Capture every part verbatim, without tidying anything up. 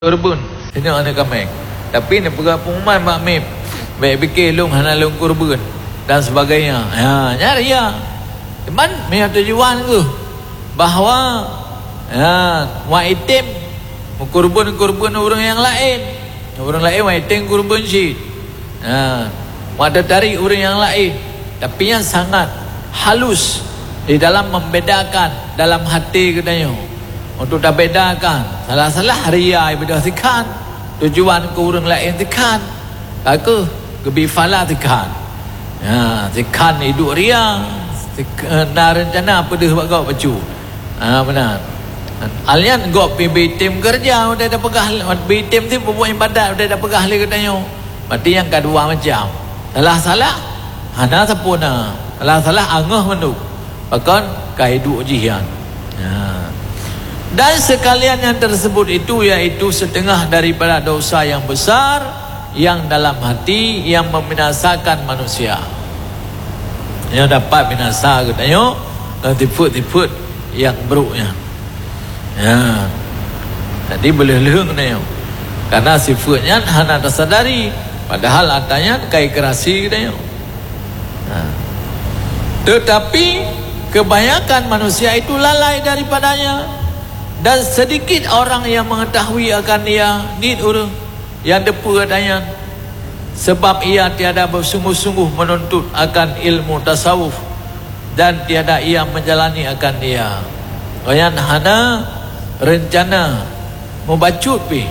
Kurban, inong aneuk kaméng. Tapi neupeugah pengumuman bak mép, bèk pike lôn hana lôn kurban dan sebagainya. Ha, nyan ria. Teuma meunyoe tujuan geuh bahwa, ha, wan item meukurban-kurban ureueng nyang laén. Ureueng laén wan item kurban cit. Ha, wan teutarek ureueng nyang laén. Tapi nyan sangat halus di dalam membedakan dalam hati geutanyoe. Untuk tabedakan, salah-salah ria ibadah sikhan, tujuan keu ureueng laén sikhan, ka keuh geubi phala sikhan. Ya, sikhan iduek ria, sik-, na rencana peudeuh bak gob bacut. Ha, meunan. Alnyan gob pih bi tem keureuja, watèe tapeugah, bi tem ti peubuet ibadat, watèe tapeugah lé geutanyoe. Berarti nyang ka dua macam. Salah-salah, hana sampoereuna. Salah-salah, angoh mandum. Pakon? Ka iduek jih nyan. Ha. Dan sekalian yang tersebut itu, yaitu setengah daripada dosa yang besar, yang dalam hati, yang membinasakan manusia. Nyang dapat binasa geutanyoe, eh, sifeuet-sifeuet nyang brok nyan. Ya. Jadi, beuleuh-leuh geutanyoe. Karena sifeuet nyan hana tasadari, padahal atra nyan ka ikrasi geutanyoe. Ha. Tetapi, kebanyakan manusia itu lalai daripadanya, dan sedikit orang yang mengetahui akan dia. Niet ureueng nyang teupeue atra nyan, sebab ia tiada bersungguh-sungguh menuntut akan ilmu tasawuf, dan tiada ia menjalani akan dia. Gobnyan hana reuncana mubacut pih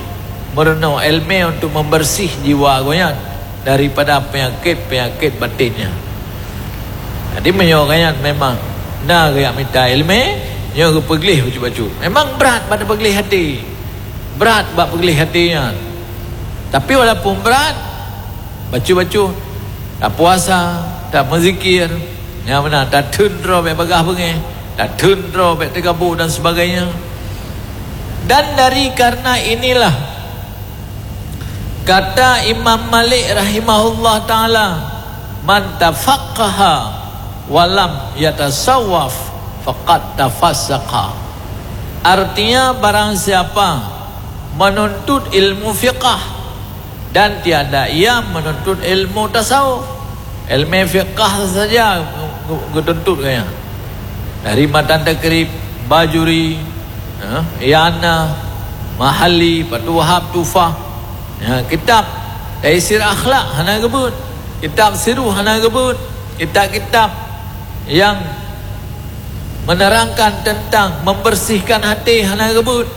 meurunoe ileumèe untuk membersih jiwa gobnyan daripada penyakit-penyakit batin nyan. Jadi, meunyoe gobnyan memang na geujak mita ileumèe, nyoe geupeugleh bacut-bacut. Memang brat bak peugléh até. Brat bak peugléh até nyan. Tapi walaupun brat, bacut-bacut, tapuasa, tameuzikir, nyang meunan, tatheun droe bèk bagaih beungéh, tatheun droe bèk teugabô dan sebagainya. Dan dari karena inilah, kata Imam Malik rahimahullah taala, "Man tafaqqaha wa lam yatasawwaf faqad tafassaqa." Artinya, barang siapa menuntut ilmu fiqah dan tiada ia menuntut ilmu tasawuf, ileumèe fiqah saja geu-, geutuntut gobnyan. Dari matan Takrib, Bajuri, ha, I'anah, Mahalli, Fathul Wahhab, Tuhfah. Ya, kitab Taisir Akhlak hana geubeuet. Kitab Sirruh hana geubeuet. Kitab-kitab nyang menerangkan tentang membersihkan até hana geubeuet.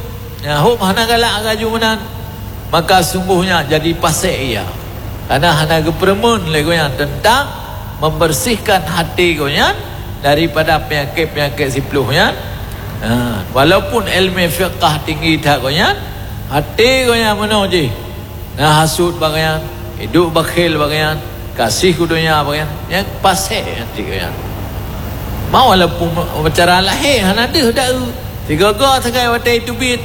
Ya, hom hana galak laju meunan, maka sungguhnya jadi pasék ia. Karena hana geupeureumeun lé gobnyan tentang membersihkan até gobnyan daripada penyakit-penyakit siploh nyan. Ha, walaupun ileumèe fiqah tinggi that gobnyan, até gobnyan meunoe jih. Na hasut bak gobnyan, iduek bakhil bak gobnyan, gaséh keu donya bak gobnyan, nyan pasék até gobnyan. Ma walaupun cara lahé hana deuh daeu, sigoe-goe sagai watèe teubiet.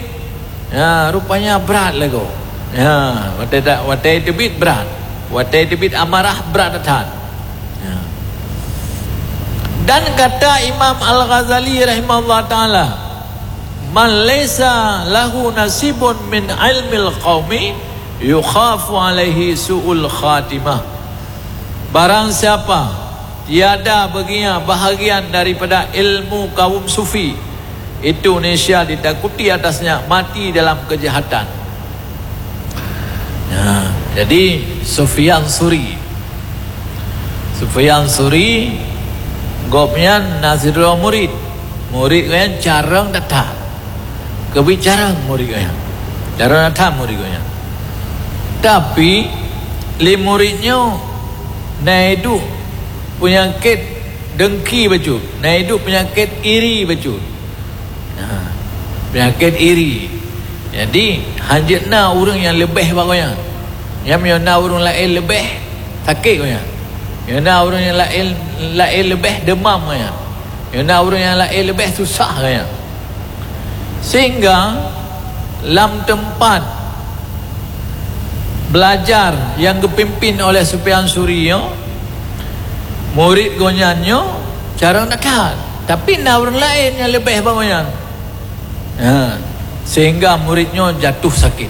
Ya, rupanya brat lagoe. Ya, watèe ta-, watèe teubiet brat. Watèe teubiet amarah brat that. Ya. Dan kata Imam Al-Ghazali rahimahullah taala, "Man laisa lahu nasibun min ilmil qaumi yukhafu alaihi su'ul khatimah." Barang siapa tiada baginya bahagian daripada ilmu kaum sufi, itu niscaya ditakuti atasnya mati dalam kejahatan. Ya, jadi Sufyan Suri. Sufyan Suri, gobnyan na sidroe murit. Murit gobnyan carông that-that. Keubiet carông murit gobnyan. Carông that-that murit gobnyan. Tapi, lé murit nyoe na iduek peunyakét dengki bacut, na iduek peunyakét iri bacut. Ha, peunyakét iri. Jadi, hanjeuet na ureueng nyang leubeh bak gobnyan. Nyan meunyoe na ureueng laén leubeh, sakét gobnyan. Meunyoe na ureueng nyang laén, laén leubeh, deumam gobnyan. Meunyoe na ureueng nyang laén leubeh, susah gobnyan. Sehingga lam teumpat belajar nyang geupimpin oleh Sufyan Suri nyoe, murit gobnyan nyoe carông that-that, tapi na ureueng laén nyang leubeh bak gobnyan. Ha, sehingga murit nyoe jatuh sakit.